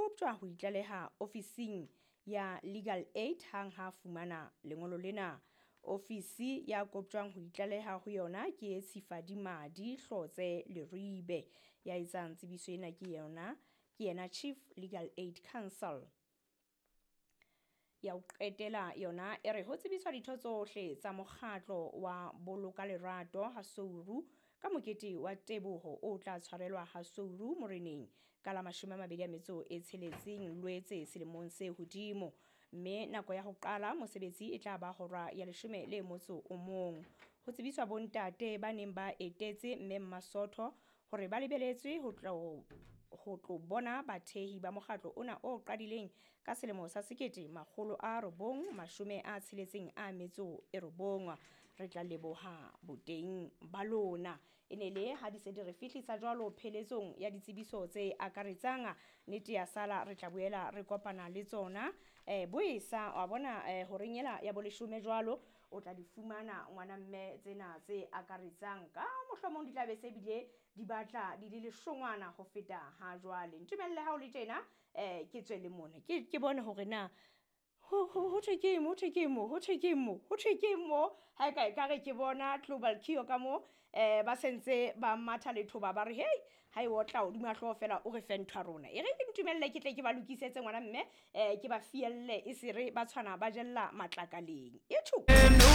koptjwa ho itlaleha ofising ya Legal Aid hang ha fumana lengolo lena. Ofisi ya koptjwang ho itlaleha ho yona ke Tshifadimadi Hlotse Leribe. Ya etsang tsebiso ena ke yona ke yena Chief Legal Aid Counsel. Ya ho qetela yona e re ho tsebiswa ditho tsohle tsa mokgatlo wa Boloka Lerato ha Souru ka mokete wa teboho o tla tshwarelwa ha Souru moreneng ka la 26 Lwetse selemong se hodimo, mme nako ya ho qala mosebetsi e tla ba hora ya 11. Ho tsebiswa bontate ba neng ba etetse mme Mmasotho hore ba lebeletswe ho tlo bona bathehi ba mokgatlo ona o qadileng ka selemo sa 1969. Re tla leboha boteng ba lona. E ne le ha di se di re fihlisa jwalo pheletsong ya ditsebiso tse akaretsang nnete ya sala, re tla boela re kopana le tsona boesa wa bona horeng ela ya boleshome jwalo o tla di fumana ngwana mme tsena tse akaretsang ka mohlomong di tla be se bile di batla di le leshongwana ho feta ha jwale. Ntumelle ha o le tjena ke tswe le mona ke bone hore na ho thwe ke mo, ho thwe ke mo, ho thwe ke mo, ho thwe ke mo. Ha e ka ekare ke bona Global Kio ka mo ba sentse ba matha lethoba ba re hei ha e otla hodima hlooho fela o re fe ntho ya rona. E re ke ntumelle ke tle ke ba lokisetse ngwana mme ke ba fielle e se re ba tshwana ba jella matlakaleng. Etjho.